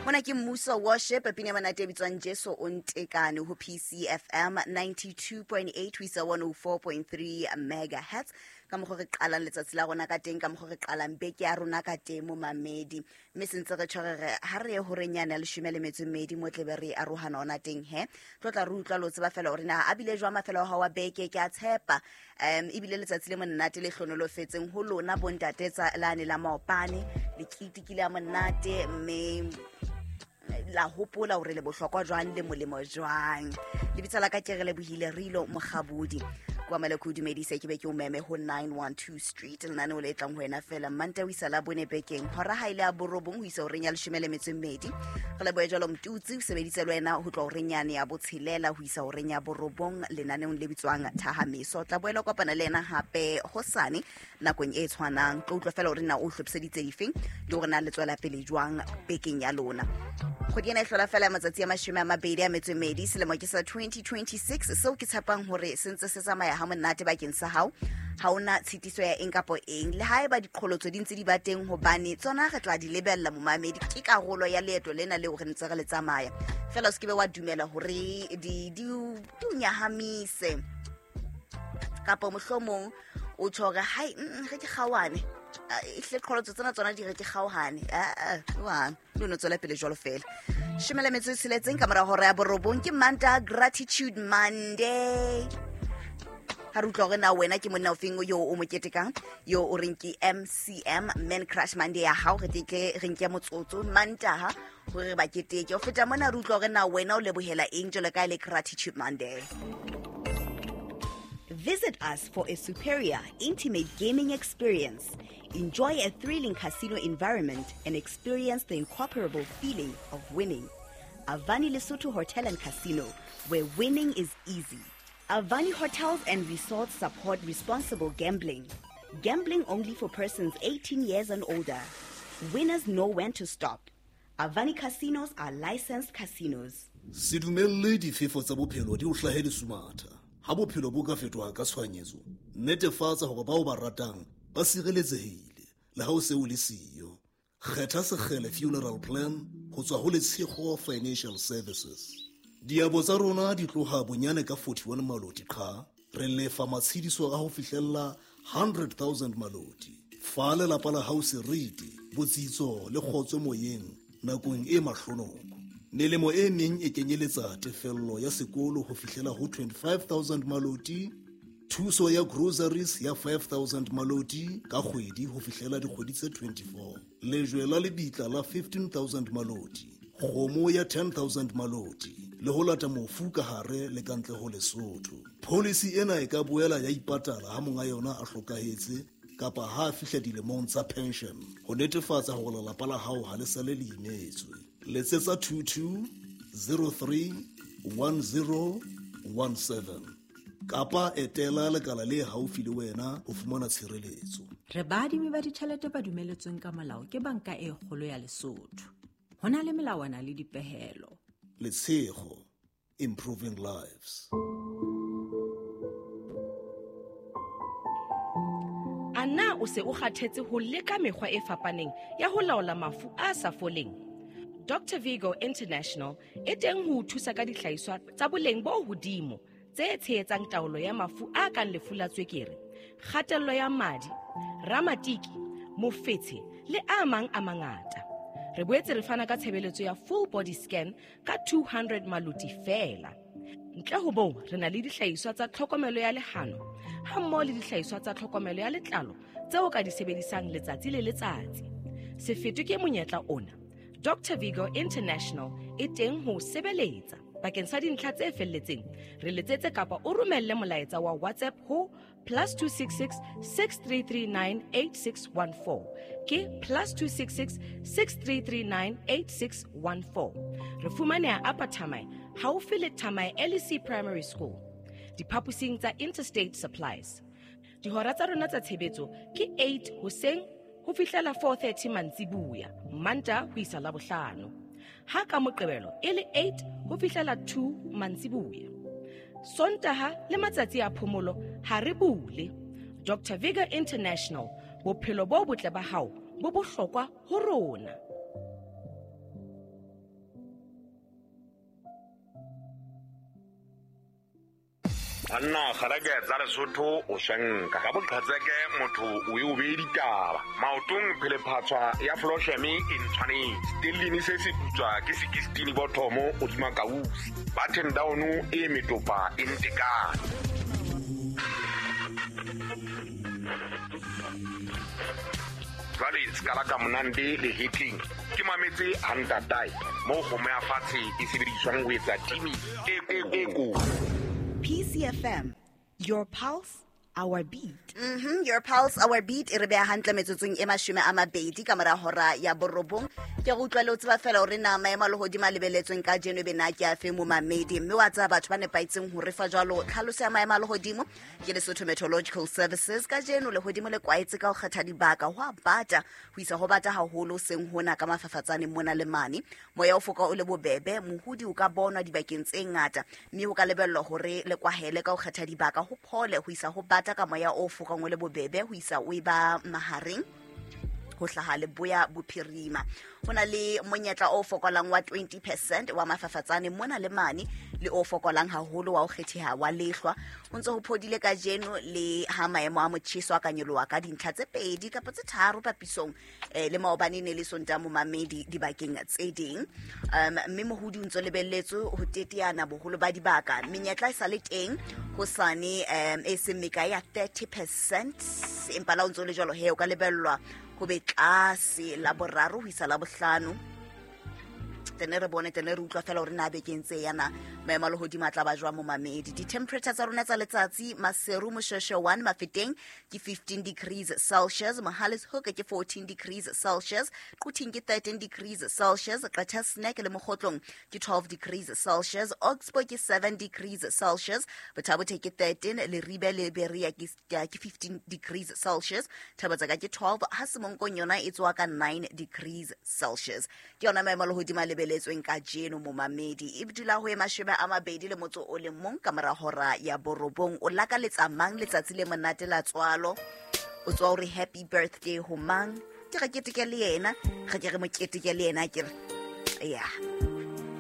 Mona ke Mmuso Worship, pina ya monate e bitswang Jesu o ntekane ho PCFM 92.8 ho isa 104.3 megahertz. Ka mokgwa re qalang letsatsi la rona ka teng, ka mokgwa re qalang beke ya rona ka teng momamedi. Mme se ntse re tjho re re ha re ye horeng yane ya leshome le metso e mmedi mo tlebe re arohana ona teng he. Tlo tla re utlwa lo tseba fela hore na a bile jwang mafelo a hao a beke, ke a tshepa. Ebile letsatsi le monate le hlonolofetseng ho lona bontate tsa lane la maopane, le ketekile ya monate mme la hopola hore le bohlokwa jwang le molemo jwang. Lebitso la ka ke re lebohile Rilo Mokgabodi. Kwa mele ke o dumedise, ke be ke o meme ho 912 Street, lenaneo le tlang ho wena fela Manta ho isa la bone bekeng, hora ha ile ya borobong ho isa horeng ya leshome le metso e mmedi. Re lebohe jwalo Mtutsi, o sebeditse le wena ho tloha horeng yane ya botshelela ho isa horeng ya borobong lenaneong le bitswang Thahameso. Tla boela kopana le yena hape hosane nakong e tshwanang. Tlo utlwa fela hore na o hlophiseditse difeng le hore na le tswela pele jwang bekeng ya lona. Kgwedi ena e hlola fela matsatsi a mashome a mabedi a metso e mmedi, selemo ke sa 2026, seo ke tshepang hore se ntse se tsamaya ha monate bakeng sa hao. Ha ona tshitiso ya eng kapo eng, le haeba diqholotso di ntse di ba teng, hobane tsona re tla di lebella momamedi, ke karolo ya leeto lena leo re ntse re le tsamaya. Fela o se ke be wa dumela hore di o nyahamise, kapa mohlomong o tjho hore hai, re ke kgaohane. Ehlile qholotso tsena tsona di re ke kgaohane. Jwang? Le no tswela pele jwalo fela. Shome le metso e tsheletseng ka mora hora ya borobong, ke Manta Gratitude Monday. Ha re utlwa hore na wena ke monna ofeng yo o mo ketekang, yo o reng ke MCM, Man Crush Monday ya hao, re tle re nke motsotso Mantaha hore re ba keteke. Ho feta mona re utlwa hore na wena o lebohela eng jwalo ka e le Gratitude Monday. Visit us for a superior, intimate gaming experience. Enjoy a thrilling casino environment and experience the incomparable feeling of winning. Avani Lesotho Hotel and Casino, where winning is easy. Avani Hotels and Resorts support responsible gambling. Gambling only for persons 18 years and older. Winners know when to stop. Avani Casinos are licensed casinos. Se dumelle difefo tsa bophelo di o hlahe lesumatha. Ha bophelo bo ka fetoha ka tshohanyetso, netefatsa hore bao ba ratang ba sireletsehile le ha o se o le siyo. Kgetha Sekgele Funeral Plan ho tswa ho Letshego Financial Services. Diabo tsa rona di tloha bonyane ka 41 maloti qha, re lefa matshediso a ho fihlella 100,000 maloti. Fa lelapa la hao seriti, botsitso le kgotso moyeng nakong e mahlonoko. Melemo e meng e kenyeletsa tefello ya sekolo ho fihlela ho 25,000 maloti, thuso ya groceries ya 5,000 maloti ka kgwedi ho fihlela dikgwedi tse 24, lejwe la lebitla la 15,000 maloti, kgomo ya 10,000 maloti, le ho lata mofu ka hare le ka ntle ho Lesotho. Policy ena e ka boela ya ipatala ha monga yona a hlokahetse kapa ha a fihla dilemong tsa pension, ho netefatsa hore lelapa la hao ha le sale le imetswe. Letsetsa 22031017 kapa etela lekala le haufi le wena ho fumana tshireletso. Re baadimi ba ditjhelete ba dumeletsweng ka molao ke Banka e Kgolo ya Lesotho. Ho na le melawana le dipehelo. Letshego, improving lives. A na o se o kgathetse ho leka mekgwa e fapaneng ya ho laola mafu a sa foleng? Dr. Vigo International e teng ho o thusa ka dihlahiswa tsa boleng bo hodimo tse tshehetsang taolo ya mafu a kang lefu la tswekere, kgatello ya madi, ramatiki, mofetshe le a mang a mangata. Re boetse re fana ka tshebeletso ya full body scan ka 200 maloti feela. Ntle ho moo, re na le dihlahiswa tsa tlhokomelo ya lehano ha mmoho le dihlahiswa tsa tlhokomelo ya letlalo tseo ka di sebedisang letsatsi le letsatsi. Se fetwe ke monyetla ona. Dr. Vigo International e teng ho sebeletsa. Bakeng sa dintlha tse felletseng, re letsetse kapa o romelle molaetsa wa WhatsApp ho +266 6339 8614. Ke +266 6339 8614. Re fumaneha Upper Thamae, haufi le Thamae LEC Primary School, diphaposing tsa Interstate Supplies. Dihora tsa rona tsa tshebetso ke 8 hoseng ho fihlela 4:30 mantsibuya, Manta ho isa Labohlano. Ha ka Moqebelo e le 8 ho fihlela 2 mantsibuya. Sontaha le matsatsi a phomolo ha re bule. Dr. Vigor International, bophelo bo botle ba hao bo bohlokwa ho rona. Banna kgareke tsa Lesotho o shanka ka boqhetseke motho o e o bee ditaba maotong phelephatshwa ya flosheme e ntshwanetse stellini se se putswa ke 16 bothomo hodima kausi button down e metopa e ntekane. Jwale sekala ka monande le hetleng ke mametse hantatae moo kgomo ya fatshe e sebediswang ho etsa timi e ko. PCFM, your pulse, our beat. Your pulse, our beat e re beha hantle metsotsong e 20 ka mora hora ya 9. Ke go utlwa le o tseba fela hore na maemo a lehodimo a lebeletsweng ka jeno be na ke a fe momamedi, mme wa tseba batho ba nepahetseng ho re fa jwalo tlhaloso ya maemo a lehodimo ke Lesotho Meteorological Services. Ka jeno lehodimo le kwaetse ka ho kgetha dibaka, ho a bata ho isa ho bata haholo seng hona ka mafafatsane mona le mane. Moya o foka o le bobebe, mohodi o ka bonwa dibakeng tse ngata, mme ho ka lebellwa hore le kwahele ka ho kgetha dibaka ho phole ho isa ho bata ka moya o fokang o le bobebe ho isa o e ba mahareng ho hlaha leboya bophirima. Ho na le monyetla o fokolang wa 20% wa mafafatsane mona le mane, le o fokolang haholo wa ho kgetheha wa lehlwa. Ho ntse ho phodile kajeno le ha maemo a motjheso a ka nyoloha ka dintlha tse 2 kapa tse 3 papisong le maobane ne le Sontaha momamedi dibakeng tse ding. Mme mohodi o ntso lebelletswe ho teteana boholo ba dibaka. Menyetla e sa le teng hosane e seng mekae ya 30%, empa la o ntso le jwalo he o ka lebellwa ho be tlase la boraro ho isa la bohlano. Tene re bone, tene re utlwa fela hore na bekeng tse yana maemo a lehodimo a tla ba jwang momamedi. Di-temperature tsa rona tsa letsatsi, Maseru Moshweshwe 1 Mafeteng ke 15 degrees Celsius, Mohale's Hoek ke 14 degrees Celsius, Quthing ke 13 degrees Celsius, Qacha's Nek le Mokgotlong ke 12 degrees Celsius, Oxbow ke 7 degrees Celsius, Botha-Bothe ke 13, Leribe le Berea ke 15 degrees Celsius, Thabotsaka ke 12, ha Semonkong yona e tswa ka 9 degrees Celsius. Ke yona maemo a lehodimo a lebeletsweng ka jeno momamedi. E dula ho e 21 ka mora hora ya 9. O lakaletsa mang letsatsi le monate la tswalo? O tswa hore happy birthday ho mang? Ke re keteke le yena, re ke re mo keteke le yena, ke re ya.